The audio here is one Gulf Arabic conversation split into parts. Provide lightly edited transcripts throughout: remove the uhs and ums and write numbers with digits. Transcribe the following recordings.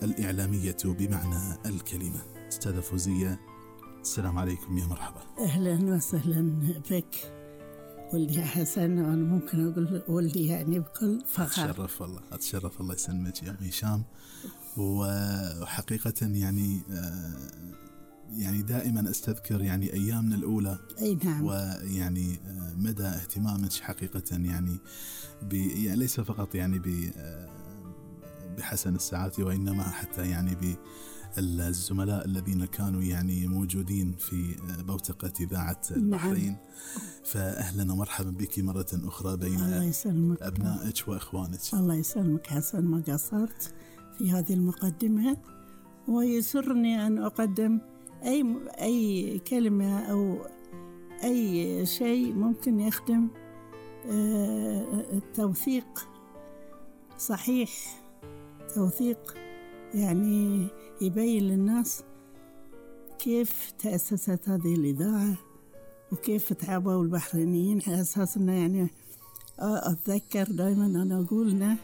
الإعلامية بمعنى الكلمة. أستاذة فوزية، السلام عليكم، يا مرحبا. أهلا وسهلا بك ولدي حسن، وأنا ممكن أقول ولدي يعني بكل فخر. أتشرف الله يسلمك يا أم هشام. وحقيقة يعني دائما أستذكر يعني أيامنا الأولى. أي نعم. ويعني مدى اهتمامك حقيقة يعني ليس فقط يعني بحسن الساعات، وإنما حتى يعني بالزملاء الذين كانوا يعني موجودين في بوتقة إذاعة البحرين. نعم. فأهلا ومرحبا بك مرة أخرى بين أبنائك وإخوانك. الله يسلمك حسن، ما قصرت في هذه المقدمة، ويسرني أن أقدم أي كلمة أو أي شيء ممكن يخدم التوثيق. صحيح، توثيق يعني يبين للناس كيف تأسست هذه الإذاعة وكيف تعبوا البحرينيين، على أساس أنه يعني أتذكر دائما أنا أقولنا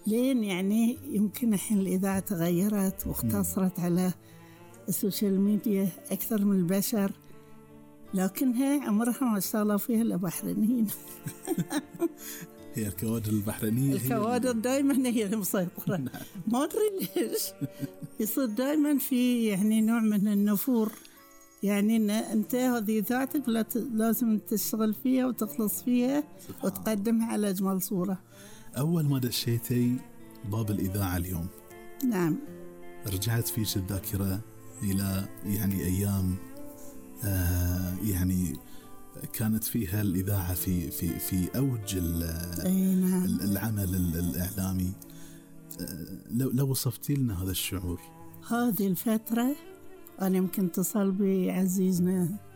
لين يعني يمكن الحين الإذاعة تغيرت واختصرت على السوشيال ميديا أكثر من البشر، لكنها عمرها ما اشتغلوا فيها إلا بحرينيين. هي الكوادر البحرينية، الكوادر دائما هي المسيطرة. ما أدري ليش يصير دائما في يعني نوع من النفور، يعني إن أنت هذه ذاتك لازم تشتغل فيها وتخلص فيها وتقدمها على أجمل صورة. أول ما دشيتي باب الإذاعة اليوم، نعم، رجعت فيش الذاكرة إلى يعني أيام يعني كانت فيها الإذاعة في أوج العمل الإعلامي. لو وصفتي لنا هذا الشعور. هذه الفترة أنا يمكن اتصل بعزيزنا